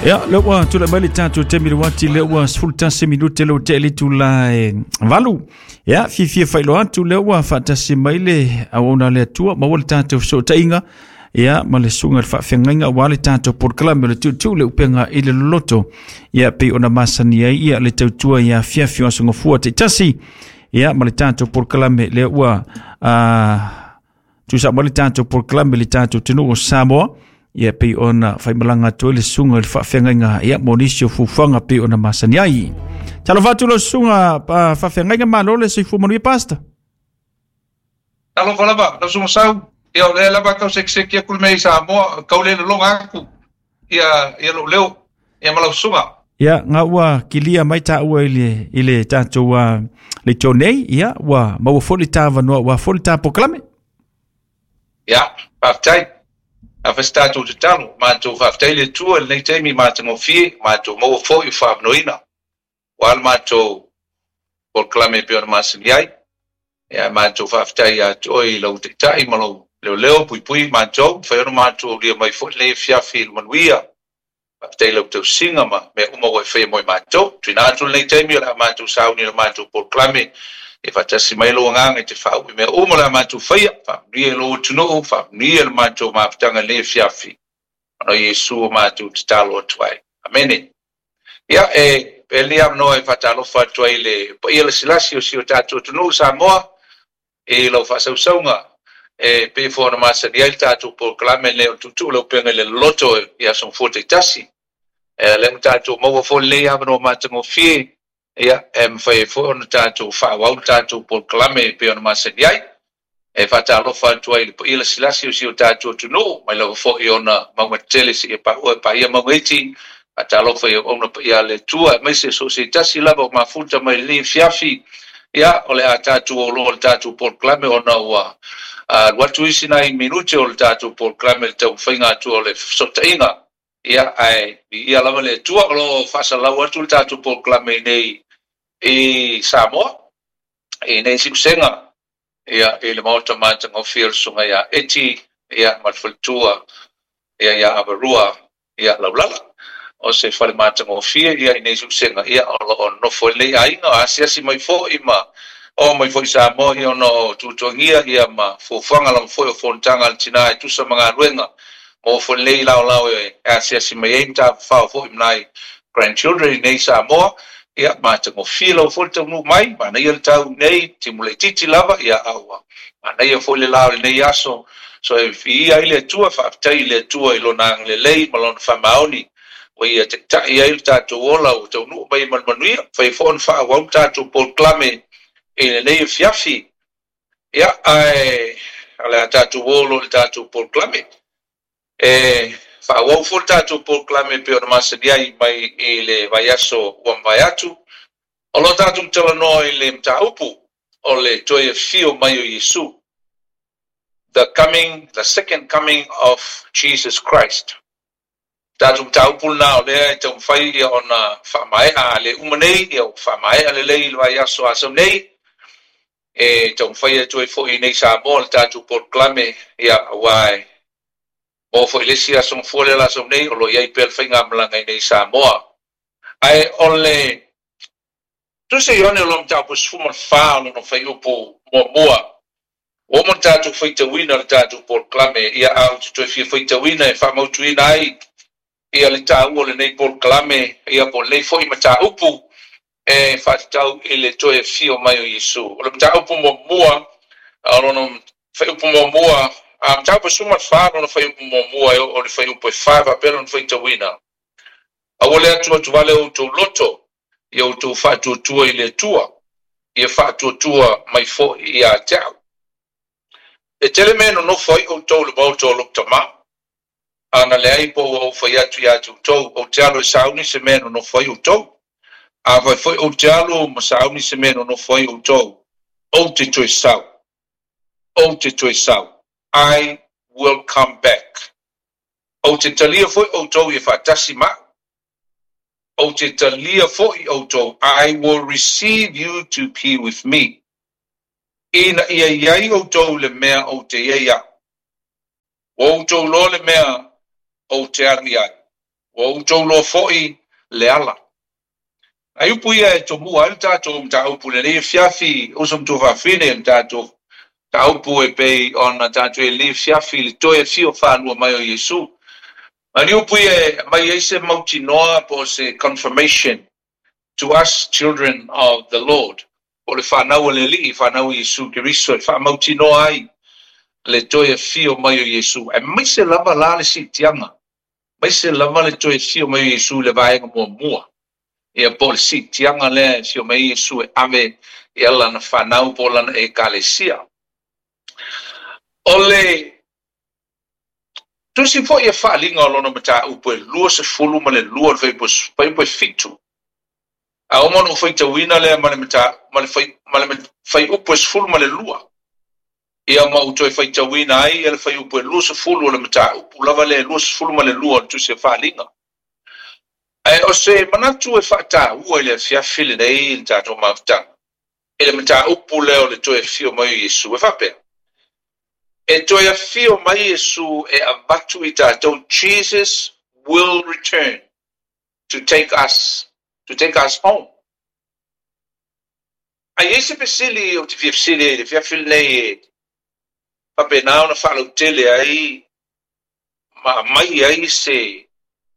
Ia, lea ua tulai mai le tatou taimi le uati, lea ua 11 minute lea ua tea le itula e 8. Ia, fiafia faailoa atu lea ua faatasi mai le auauna a le Atua, maua le tatou fesootaiga, ia, ma le susuga i le faafeagaiga aua le tatou polokalame o le tuutuu le upega i le loloto. Ia, pei ona masani ai ia le tautua i afiafi o aso Gafua taitasi. Ia, ma le tatou polokalame lea ua tusa mai le tatou polokalame i le tatou atunuu o Samoa. Ia pei ona faimalaga atu ai le susuga i le faafeagaiga ia mo nisi o fuafuaga pei ona masani ai. Talofa atu lau susuga faafeagaiga, malo le soifua manuia Pastor. Talofa lava, lau susuga Sau. Ia o lea lava tau sekiseki atu le mea i Samoa, tau le lologa atu ia ia lou leo ia ma lau susuga. Ia, nga ua kilia mai taua i le tatou le tau nei, ia ua maua foi le tāvanoa ua foi le tā polokalame. Ia, faafetai. A fai se tatou tatalo, matou faafetai le Atua i lenei taimi matagofie, matou maua foi o faamanoina. Ua le matou polokalame e pei ona masani ai. Ia, matou faafetai ia te oe i lau taitai ma lou leoleo puipui matou, fai ona matou aulia mai foi lenei afiafi i le manuia. Faafetai i lau tausiga ma mea uma ua e faia mo i matou. Tuuina atu lenei taimi o le a matou sauni i le matou polokalame. Ia faatasi mai lou agaga i te faauu i mea uma o le a matou faia. Faamanuia i lou atunuu, faamanuia i le matou mafutaga i lenei afiafi. Ona o Iesu o matou tatalo atu ai. Amene. Ia, e pea lenei avanoa e faatalofa atu ai i le paia lasilasi o si o tatou atunuu Samoa i lau faasausauga e pei foi ona masani ai le tatou polokalame lenei o le tuutuu le upega i le loloto i aso gafua taitasi. E lea ua tatou maua foi lenei avanoa matagofie, ia, e mafai ai foi ona tatou faaauau le tatou polokalame e pei ona masani ai. E faatalofa atu ai i le paia lasilasi o si o tatou atunuu, mai lava foi ona mauga tetele seia paua e paia mauga iti. Faatalofa i auauna paia a le Atua, aemaise so o se tasi lava o mafuta mai lenei afiafi. Ia, o le a tatou o loa i le tatou polokalame ona ua alu atu isi nai minute o le tatou polokalame i le taumafaiga atu o le fesootaiga. Ia, ae viia lava le Atua o lo o faasalalau atu le tatou polokalame i nei i Samoa, i nei siusega, ia, i le maota matagofie o le Susuga ia Eti, ia, ma le faletua, ia, ia Avarua, ia, Laulala. O se fale matagofie, ia, i nei siusega, ia, o lo o nonofo ai lenei aiga, o asiasi mai foi ma oo mai foi i Samoa, ia, ona o tuatuagia, ia, ma fuafuaga lava foi o fonotaga a le tina e tusa ma galuega mo foi lenei laolao e asiasi mai ai ma tafafao foi ma nai grandchildren i nei Samoa. Ia, matagofie lava foi le taunuu mai, manaia le tau nei, timu laitiiti lava, ia, a ua manaia foi le la o lenei aso. So e viia ai le Atua, faafetai i le Atua i Lona agalelei ma Lona faamaoni ua Ia taitai ai le tatou ola ua taunuu mai ma le manuia. Fai foi ona faaauau le tatou polokalame i lenei afiafi. Ia, ae o le a tatou o loa i le tatou polokalame. E faaauau foi le tatou polokalame e pei ona masani ai mai i le vaiaso ua mavae atu. O lo o tatou talanoa i le mataupu o le toe afio mai o Iesu, the coming, the second coming of Jesus Christ. Tatou mataupu lena o lea e taumafai ia ona faamaea a le uma nei, ia ua faamaea lelei i le vaiaso a sau nei. E taumafai atu ai foi i nei Samoa le tatou polokalame, ia aua e maua foi le isi aso gafua lea la sau nei, o lo o i ai pea le faigamalaga i nei Samoa. Ae o le Tusi Ioane o lona mataupu 14 o lona fuaiupu muamua, ua uma ona tatou faitauina le tatou polokalame, ia a ou te toe fia faitauina e faamautuina ai ia le taua o lenei polokalame, ia po o lenei foi mataupu e faatatau i le toe afio mai o Iesu. O le mataupu muamua o lona fuaiupu muamua, a mataupu 14 lona fuaiupu muamua e oo i le fuaiupu e 4 faapea lona faitauina. Aua le atuatuvale o outou loto, ia outou faatuatua i le Atua, ia faatuatua mai foi ia te au. E tele mea e nonofo ai outou i le maota o lou tama, a na leai po ua ou fai atu ia te outou, ou te alu e sauni se mea e nonofo ai outou. Afai foi ou te alu ma sauni se mea e nonofo ai outou, ou te toe sau. Ou te toe sau. I will come back. Ou te talia foi outou ia faatasi ma au. Ou te talia foi outou, I will receive you to be with me. Ina ia i ai outou le mea ou te i ai au. Ua outou iloa le mea ou te alu i ai. Ua outou iloa foi le ala. Nai upu ia e tomua ai le tatou mataupu i lenei afiafi, uso ma tuafafine, le tatou mataupu e pei ona tatou i ai i lenei afiafi i le toe afio faalua mai o Iesu. Ma ni upu ia e aumai ai se mautinoa po o se confirmation to us children of the Lord, po o le fanau a le Alii, fanau a Iesu Keriso, e faamautinoa ai le toe afio mai o Iesu, aemaise lava la le siitiaga, aemaise lava le toe afio mai o Iesu i le vaega muamua, ia po o le siitiaga lea e afio mai ai Iesu e ave ia lana fanau po o lana Ekalesia. O le Tusi foi e faaaliga o lona mataupu e 22 o le fuaiupu e 7. A uma ona ou faitauina lea ma le ma le ma le fuaiupu e 12, ia ma ou toe faitauina ai le fuaiupu e 20 o le mataupu lava lea e 22 o le Tusi a Faaaliga. Ae o se manatu e faataua i le afiafi lenei i le tatou mafutaga, i le mataupu lea o le toe afio mai o Iesu, e faapea, E toe afio mai Iesu e avatu i tatou Jesus will return to take us to take us home. A i ai se fesili ou te fia fesili ai i le afiafi lenei e faapena ona faalautele ai ma aumai ai se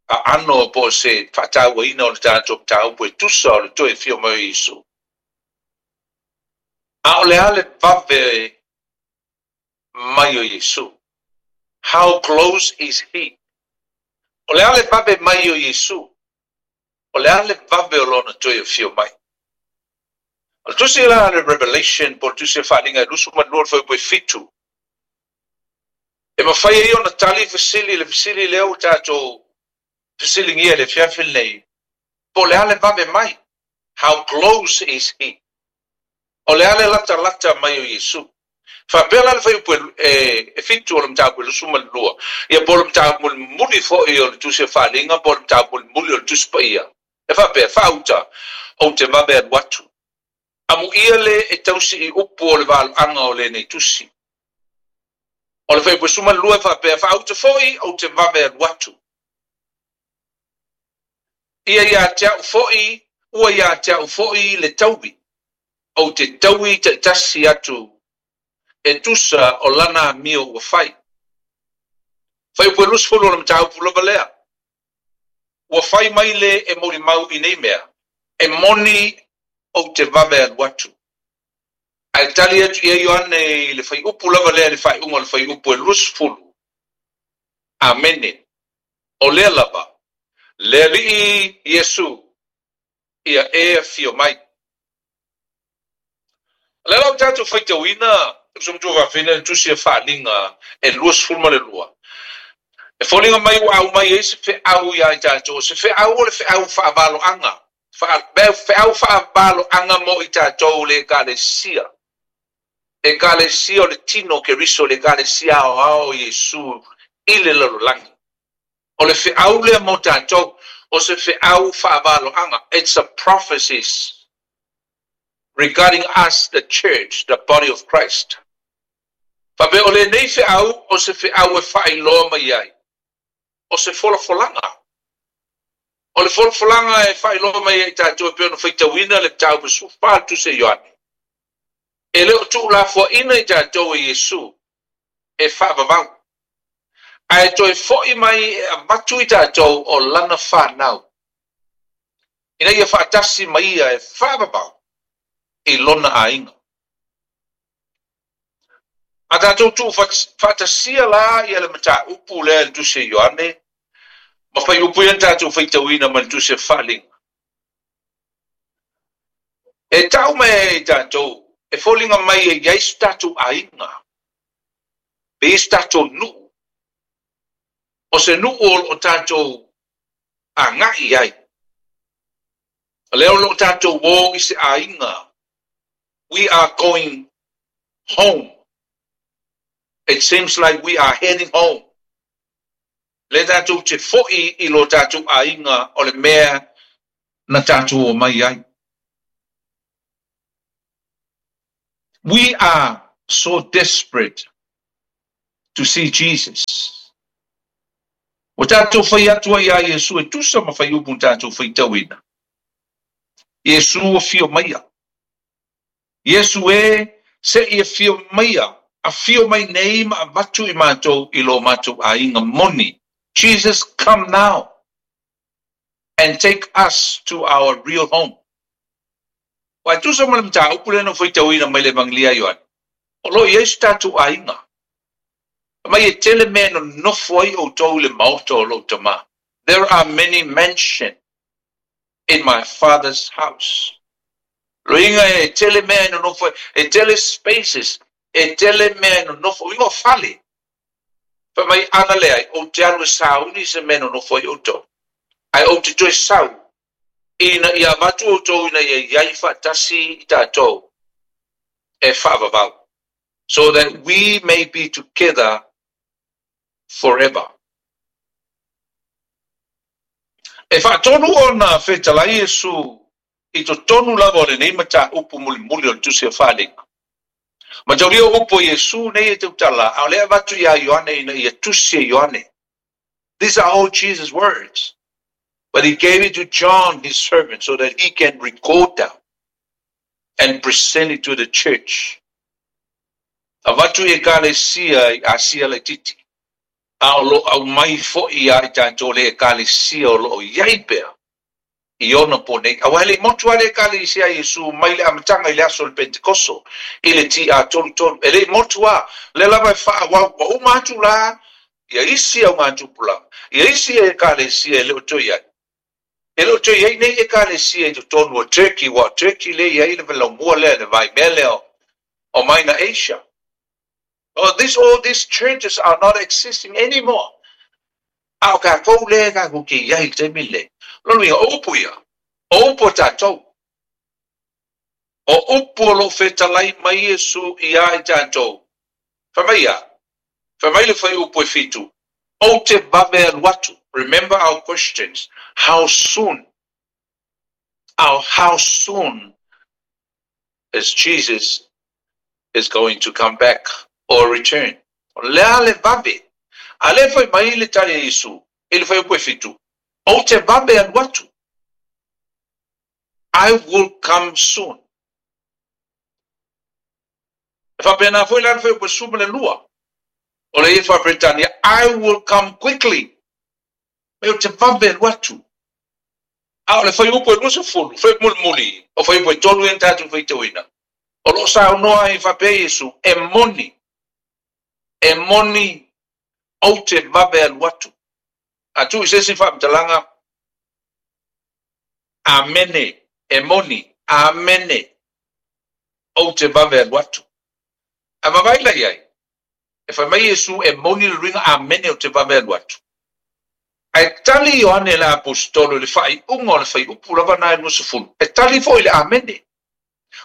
aano po o se faatauaina o le tatou mataupu e tusa o le toe afio mai o Iesu. A o le a le vave mai o Iesu? How close is he? O le a le vave mai o Iesu? O le a le vave o Lona toe afio mai? O le tusi la a le Revelation po o le tusi a Faaaliga e 22 le fuaiupu e 7, e mafai ai ona tali fesili le fesili lea ua tatou fesiligia i le afiafi lenei, po o le a le vave mai? How close is he? O le a le latalata mai o Iesu? Faapea la le fuaiupu e 7 o le mataupu e 22, ia po o le mataupu mulimuli foi o le Tusi a Faaaliga po o le mataupu mulimuli o le Tusi Paia, e faapea, Faauta, ou te vave alu atu. Amuia le e tausi i upu o le valoaga o lenei tusi. O le fuaiupu e 12 e faapea, Faauta foi, ou te vave alu atu. Ia ia te au foi, ua ia te au foi le taui, ou te taui taitasi atu e tusa o lana amio ua fai. Fuaiupu e 20 o le mataupu lava lea. Ua fai mai le e molimau i nei mea, e moni ou te vave alu atu. Ae tali atu i ai Ioane i le fuaiupu lava lea i le faaiuga o le fuaiupu e 20, Amene. O lea lava, le Alii Iesu, ia e afio mai. O lea la ua tatou faitauina, uso matua fafine, le tusi a Faaaliga e 22. E foliga mai ua aumai ai se feau ia i tatou, o se feau o le feau faavaloaga, feau faavaloaga mo i tatou le Ekalesia. Ekalesia o le tino o Keriso, le Ekalesia aoao o Iesu i le lalolagi. O le feau lea mo tatou, o se feau faavaloaga, it's a prophecies regarding us the church, the body of Christ. Faapea o lenei feau o se feau e faailoa mai ai, o se folafolaga. O le folafolaga e faailoa mai ai i tatou e pei ona faitauina le mataupu 14 o le Tusi a Ioane. E le o tuulafoaina i tatou e Iesu e faavavau, ae toe foi mai e avatu i tatou o lana fanau, ina ia faatasi ma ia e faavavau i lona aiga. A tatou tuu faatasia la ia le mataupu lea i le Tusi a Ioane, ma fuaiupu ia na tatou faitauina mai le Tusi a Faaaliga, e tau mai ai e tatou, e foliga mai e i ai so tatou aiga, e i ai so tatou nuu, o se nuu o lo o tatou agai i ai. O lea o lo o tatou o i se aiga, we are going home. It seems like we are heading home. Lea tatou te foi i lo tatou aiga o le mea na tatou omai ai. We are so desperate to see Jesus. Ua tatou fai atu ai iā Iesu e tusa ma faiupu na tatou faitauina. Iesu afio maia. Iesu e, se i afio maia, afio mai nei ma avatu i matou i lo matou aiga moni. Jesus come now and take us to our real home. Ua e tusa ma le mataupu lea na ou faitauina mai le Evagelia a Ioane, o lo o i ai so tatou aiga. Fai mai e tele mea e nonofo ai outou i le maota o lou Tama. There are many mansion in my Father's house. Loiga e tele mea e nonofo ai, e tele spaces, e tele mea e nonofo, uiga o fale. Fai mai ana leai, ou te alu e sauni i se mea e nonofo ai outou, ae ou te toe sau, ina ia avatu outou ina ia i ai faatasi i tatou e faavavau, so that we may be together forever. E faatonu ona fetalai Iesu i totonu lava o lenei mataupu mulimuli o le Tusi o Faaaliga. Mataulia o upu a Iesu nei e tautala, a o lea e avatu iā Ioane ina ia tusi e Ioane. These are all Jesus words, but he gave it to John his servant so that he can record them and present it to the church. Avatu i Ekalesia i Asia laitiiti, a o lo o aumai foi ia i tatou le Ekalesia o lo o i ai pea i ona po nei. Aua e le i motu lava le Ekalesia a Iesu mai le amataga i le aso o le Pentekoso i le TA33. E le i motu lava, lea lava e faaauau. Ua uma atu la ia isi augatupulaga, ia isi Ekalesia e le o toe i ai. E le o toe i ai nei Ekalesia i totonu o Turkey, aua o Turkey lea e i ai le laumua lea, le vaimea lea o Minor Asia. Oh, this, all these churches are not existing anymore. A o tatou lea tatou te i ai i le taimi lenei. Lona uiga, o upu ia, o upu a tatou. O upu o lo o fetalai mai Iesu iā i tatou. Fai mai ia, fai mai le fuaiupu e fitu, Ou te vave alu atu. Remember our questions, how soon, how soon is Jesus is going to come back or return. O le a le vave? A lea fai mai le tali a Iesu i le fuaiupu e fitu, Ou te vave alu atu. I will come soon. E faapena foi la le fuaiupu e 12, o le ie faa-Peretania, I will come quickly. Mai ou te vave alu atu. A o le fuaiupu e 20, fuaiupu mulimuli, o fuaiupu e tolu ia na tatou faitauina, o lo o saunoa ai faapea Iesu, E moni, e moni, ou te vave alu atu. A tuu i se isi faamatalaga, Amene, e moni, amene, ou te vave alu atu. A vavaai la i ai, e fai mai Iesu, e moni le luiga, amene, ou te vave alu atu. Ae tali Ioane le Aposetolo i le faaiuga o le faiupu lava na e 20, e tali foi i le amene.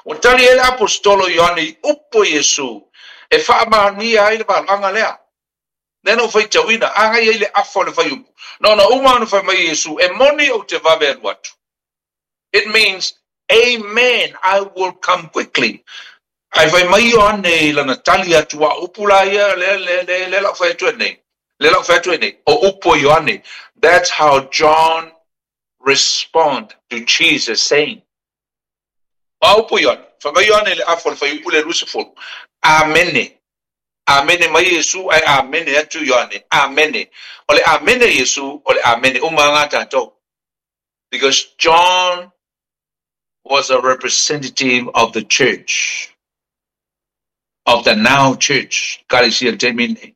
Ua tali ai le Aposetolo Ioane i upu a Iesu e faamaonia ai le valaga lea. Lea na ou faitauina, agai ai le afa o le faiupu. Na ona uma ona fai mai Iesu, e moni ou te vave alu atu. It means, Amen, I will come quickly. Ae fai mai Ioane i lana tali atu, a o upu la ia, lea, lea, lea, lea la ou fai atu ai nei, lea la ou fai atu ai nei, o upu a Ioane. That's how John respond to Jesus saying. O a upu a Ioane? Fai mai Ioane i le afa o le faiupu lea 20, Amene. Amene mai Iesu, ae amene atu Ioane. Amene. O le amene a Iesu, o le amene uma lava tatou. Because John was a representative of the church, of the now church, Ekalesia i le taimi lenei.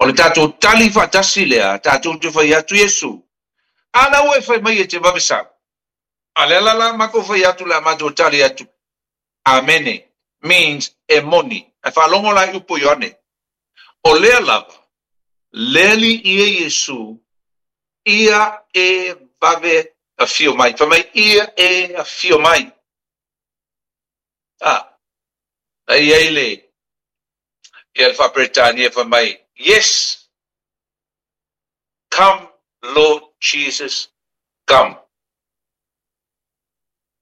O le tatou tali faatasi lea, tatou te fai atu Iesu, a la ua e fai mai e te vave sau. A lea la la matou fai atu le a matou tali atu, Amene, means e moni. Ae faalogo la i upu o Ioane, o lea lava, le alii ia Iesu, ia e vave afio mai. Fai mai, ia e afio mai. A, na i ai le, ia le faa-Peretania fai mai, Yes, come Lord Jesus, come.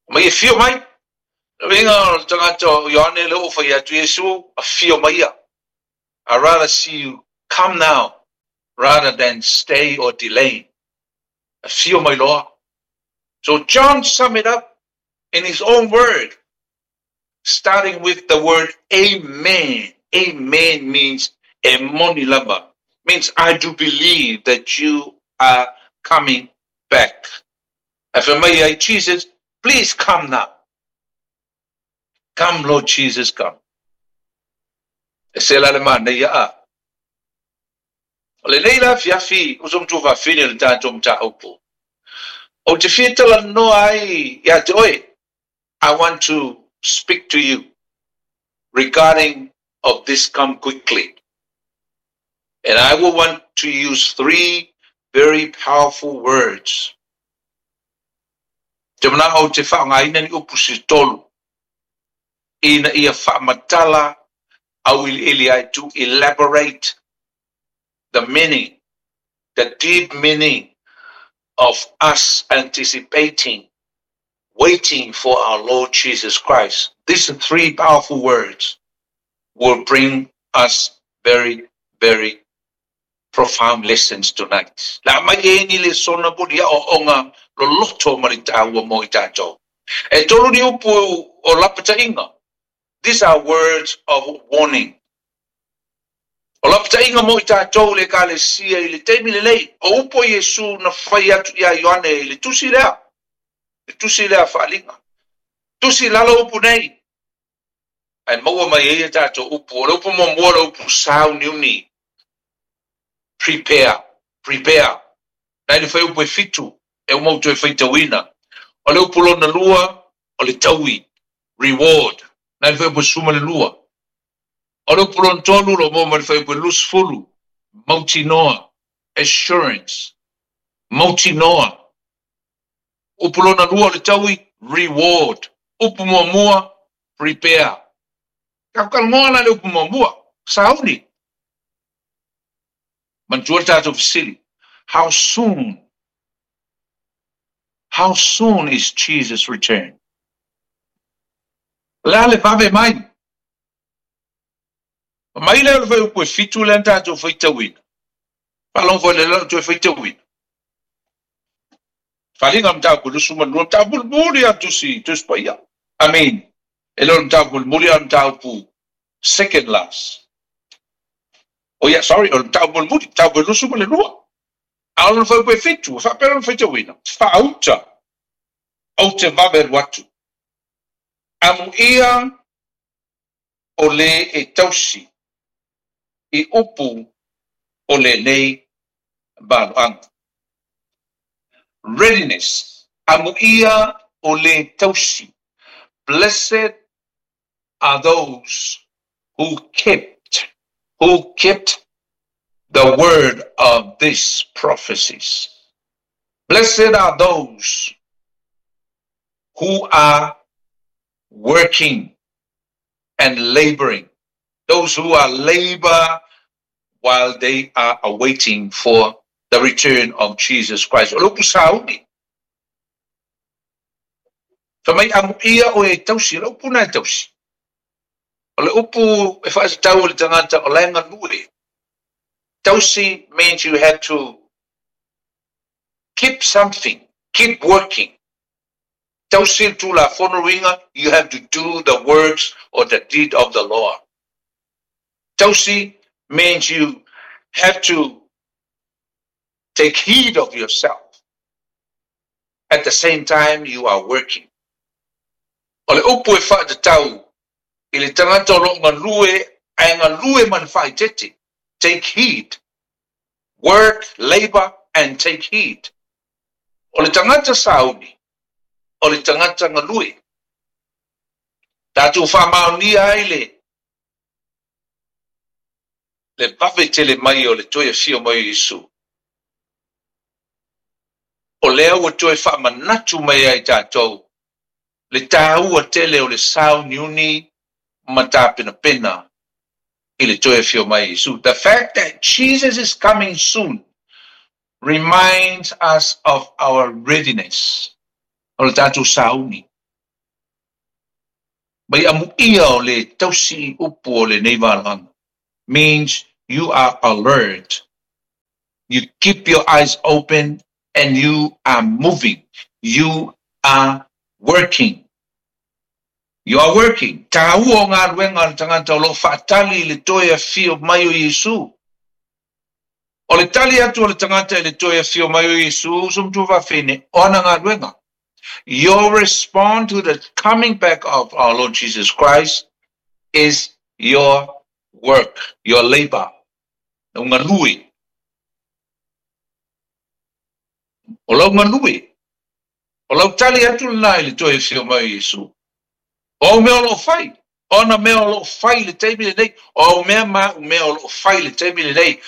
Mai e afio mai. Le uiga o le tagata o Ioane lea ua fai atu, Iesu, afio mai ia. I rather see you come now. Rather than stay or delay. Afio mai loa. So John summed it up in his own word, starting with the word "amen." Amen means e moni lava, means I do believe that you are coming back. Ae fai mai ai, Jesus, please come now. Come, Lord Jesus, come. E se la le manaia a. O lenei la afiafi, o so matua faafine o le tatou mataupu. Ou te fia talanoa ai ia te oe. I want to speak to you regarding of this come quickly. And I will want to use three very powerful words. Te manao ou te whaangaina ni upu se tolu ina ia whaamatala auiliili ai, to elaborate the meaning, the deep meaning of us anticipating, waiting for our Lord Jesus Christ. These three powerful words will bring us very, very profound lessons tonight. La mai e ni le sona buri o onga loloto ma le tāua mo i tātou. E tolu ni upu o lapatainga. These are words of warning. O lapatainga mo i tātou le ekalesia i le taimi lenei, o upu o Iesu na fai atu ia Ioane i le tusi lea, le tusi lea faaaliga. Tusi lalo upu nei, ae maua mai ai a tātou upu. O le upu muamua o le upu sauniuni, prepare, prepare. Na i le fuaiupu e 7, e uma ou toe faitauina. O le upu lona lua, o le taui, reward. Na i le fuaiupu e 12. O le upu lona tolu, o lo o maua mai le fuaiupu e 20, mautinoa, assurance, mautinoa. Upu lona lua o le taui, reward. Upu muamua, prepare. Tatou talanoa la i le upu muamua, sauni. Manatua le tatou fesili, how soon, how soon is Jesus return? O le a le vave mai? Mai lea o le fuaiupu e 7 lea na tatou faitauina. Faalogo foi lea na toe faitauina. Faliga o le mataupu e 22, mataupu mulimuli a Tusi, Tusi Paia. I mean, e le o le mataupu mulimuli a o le mataupu second last. Oh yeah, sorry, o le mataupu mulimuli, mataupu e 22. A o lona fuaiupu e 7, e faapea lona faitauina, faauta, ou te vave alu atu. Amuia o le e tausi i upu o lenei valoaga. Readiness, amuia o le tausi. Blessed are those who kept, who kept the word of these prophecies. Blessed are those who are working and laboring, those who are labor while they are awaiting for the return of Jesus Christ. O le upu sauni. Fai mai amuia oe e tausi, o le upu na e tausi. O le upu e faatatau i le tagata o la e galue. Tausi means you have to keep something, keep working. Tausi le Tulafono uiga, you have to do the works or the deed of the law. Tausi means you have to take heed of yourself. At the same time you are working. O le upu e faatatau i le tagata o lo o galue ae galue ma le faaeteete. Take heed. Work, labour and take heed. O le tagata sauni, o le tagata galue. Tatou faamaonia ai le le vave tele mai o le toe afio mai o Iesu. O lea ua toe faamanatu mai ai tatou le taua tele o le sauniuni ma tapenapena i le toe afio mai o Iesu. The fact that Jesus is coming soon reminds us of our readiness. O le tatou sauni. Mai amuia o le tausi upu o lenei valoaga means you are alert. You keep your eyes open and you are moving. You are working. You are working. Taua o galuega a le tagata o lo o faatali i le toe afio mai o Iesu. O le tali atu o le tagata i le toe afio mai o Iesu, uso ma tuafafine, o ana galuega. Your response to the coming back of our Lord Jesus Christ is your work, your labor. Lau galue. O lau galue. O lau tali atu lena i le toe afio mai o Iesu. O au mea o lo o fai. O ana mea o lo o fai i le taimi lenei. O au mea ma au mea o lo o fai i le taimi lenei.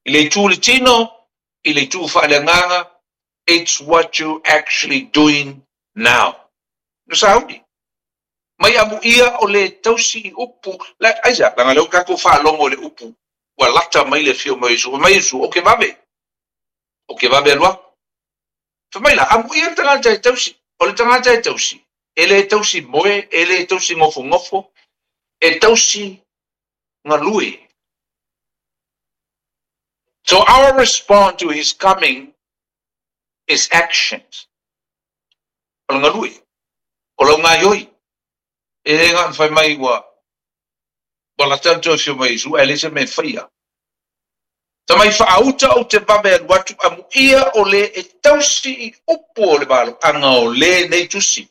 I le itu o le tino, i le itu faaleagaga, it's what you actually doing now. No sauni. Mai amuia o le tausi i upu, la, aisea, leaga lea ua tatou faalogo i le upu, ua lata mai le afio mai o Iesu. Fai mai Iesu, Ou ke vave. Ou ke vave alu aku. Fai mai la, amuia le tagata e tausi. O le tagata e tausi, e le tausi moe, e le tausi gofogofo, e tausi galue. So our response to his coming is actions. O le galue, o lau gaioi. E le gana fai mai ua ua lata le toe afio mai Iesu, ae leai se mea e faia. Tamai faauta ou te vave alu atu amuia o le e tausi i upu o le valoaga o le nei tusi.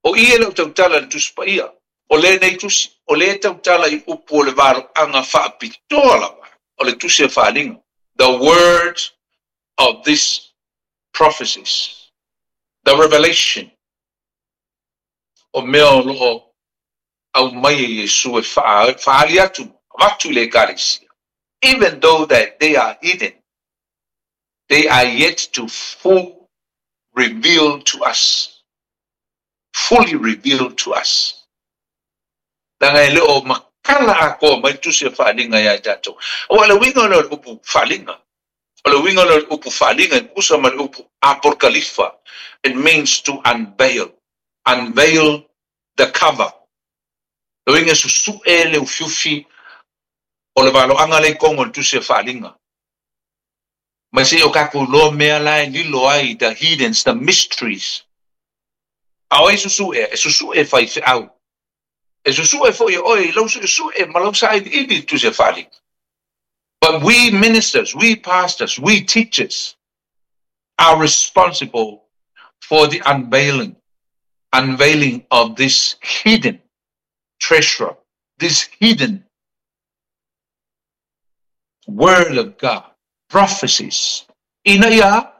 O i e le o tautala i le Tusi Paia, o le nei tusi, o le e tautala i upu o le valoaga faapitoa lava o le tusi a Faaaliga, the words of this prophecies, the revelation, o mea o lo o aumai e Iesu e faaali atu, avatu i le Ekalesia, even though that they are hidden, they are yet to full reveal to us, fully reveal to us. Leaga e le o makala atoa mai le tusi a faaaliga ia i tatou. Aua o le uiga lea o le upu faaaliga, o le uiga lea o le upu faaaliga e tusa ma le upu apokalifa, it means to unveil, unveil the cover. Le uiga e susue le ufiufi o le valoaga lea i totonu o le tusi a faaaliga. Mai se i o tatou iloa mea la e lilo ai, the hiddens, the mysteries. A o ai e susue? E susue e faifeau. E susue foi e oe i lau suesue ma lau sailiili i le tusi a faaaliga. But we ministers, we pastors, we teachers are responsible for the unveiling, unveiling of this hidden treasure, this hidden word of God, prophecies, ina ia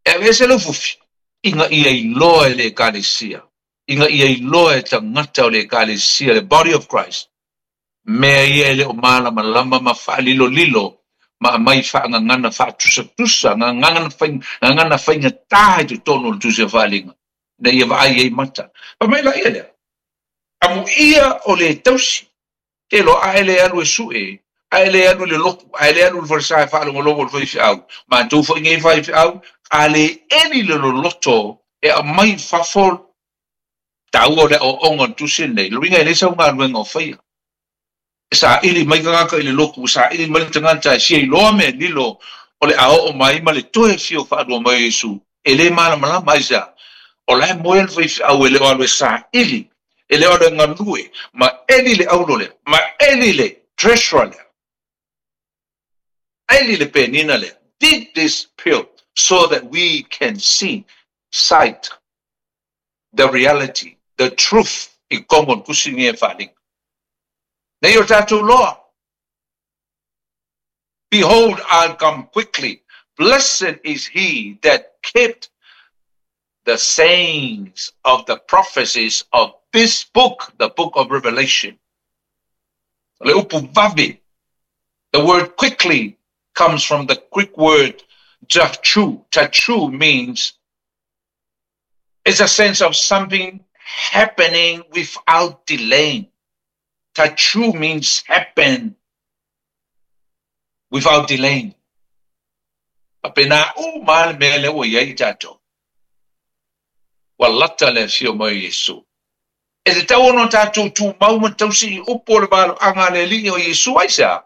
e aveese le ufufi, ina ia iloa e le Ekalesia, ina ia iloa e tagata o le Ekalesia, le body of Christ, mea ia e le o malamalama ma faalilolilo ma aumai faagagana faatusatusa, gagana gagana faigata i totonu o le Tusi a Faaaliga, ina ia vaai ai mata. Fai mai laia lea, Amuia o le tausi, te loa a e le alu e sue, a e le alu i le lotu, a e le alu i le falesa e faalogologo i le faifeau, matou foi nei faifeau, a le eli le loloto e aumai i fafo taua o le aoaoga o le tusi lenei, le uiga e leai sau galuega o faia. E saili mai tagata i le lotu, e saili mai le tagata e sia iloa mea lilo o le a oo mai ma le toe fio faalua mai o Iesu, e le malamalama aisea? O la e moe le faifeau e le o alu e saili, e le o alu e galue, ma eli le aulo lea, ma eli le treasure lea, eli le penina lea, dig this pill so that we can see, sight the reality, the truth i totonu o le tusi lenei e faaaliga. Nei o tatou loa. Behold, I'll come quickly. Blessed is he that kept the sayings of the prophecies of this book, the book of Revelation. O le upu vave, the word quickly comes from the Greek word tachu. Tachu means it's a sense of something happening without delaying. Tachu means happen without delaying. Faapena uma lava le mea lea ua i ai tatou. Ua lata le afio mai o Iesu. E tatau ona tatou tumau ma tausi i upu o le valoaga a le Alii o Iesu. Aisea?